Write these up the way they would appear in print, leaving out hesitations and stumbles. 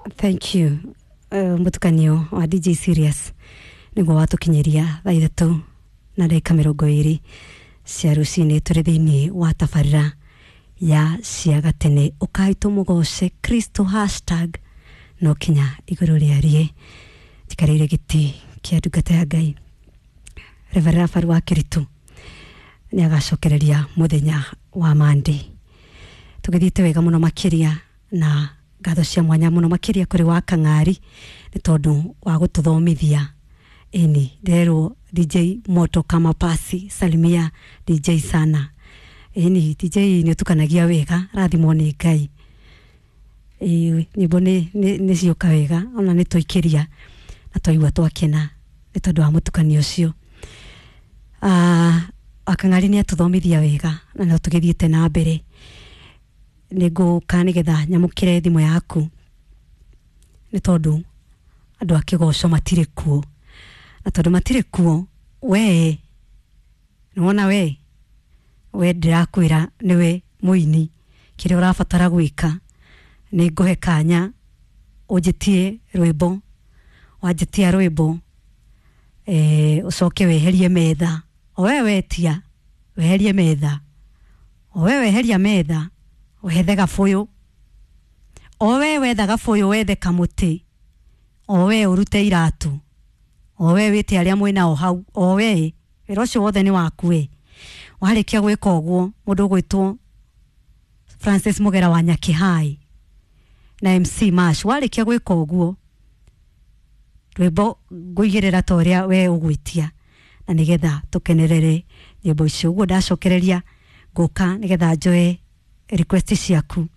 Thank you. Mutukanio wa DJ Serious niguo watukinyiria thaa 3 na ndagĩka 20 cia rũcinĩ, tũrĩ thĩinĩ wa tabarĩra ya cia gatene. Ũkai tũmũgoce Kristo hashtag no kinya igũrũ rĩarie. Njikarĩire gĩtĩ kĩa ndungata ya Ngai Reverend Rafael wa Kĩritũ, nĩ agacokereria mũthenya wa Monday. Tũgĩthiĩte wega mũno makĩria, na ngatho cia mwanya mũno makĩria kũrĩ wa Kang'ari nĩ tondũ wa gũtũthomithia. Ĩni nderwo DJ moto kama pasi, salimia DJ sana. Ĩni DJ nĩ ũtukanagia wega, rathimwo nĩ Ngai. Ĩĩ, nyĩmbo nĩ ciũka wega, ona nĩ twaikĩria na twaigua twakena nĩ tondũ wa mũtukanio ũcio. Wakang'ari nĩ atũthomithia wega na no tũgĩthiĩte na mbere. Nĩ ngũka nĩgetha nyamũkĩre thimũ yaku, nĩ tondũ andũ a kĩgoco matirĩ kuo, na tondũ matirĩ kuo, we nĩwona we ndĩrakwĩra nĩwe mũini, kĩrĩa ũrabatara gwĩka nĩ ngũhe kanya ũnjĩtie rwĩmbo. Wanjĩtia rwĩmbo, ũcoke weherie metha. O we wetia, weherie metha. O we weheria metha, wethe gabũyũ. O we wetha gabũyũ, wethe kamũtĩ. O we ũrute iratũ. O we wĩte arĩa mwĩnao hau. O we wĩra ũcio wothe nĩ waku. We warĩkia gwĩka ũguo, mũndũ ũgwĩtwo Francis Mũgera wa Nyakĩhai na MC Mash, warĩkia gwĩka ũguo, rwĩmbo ngũigĩrĩra ta ũrĩa we ũgwĩtia, na nĩgetha tũkenerere nyĩmbo icio. Ũguo ndacokereria ngũka nĩgetha njoe request ciaku,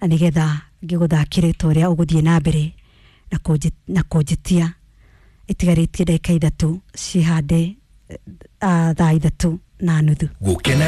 na nĩgetha ngĩgũthakĩre ta ũrĩa ũgũthiĩ na mbere na kũnjĩtia. Itigarĩtie ndagĩka 3 cihande thaa 3:30. Gũkena.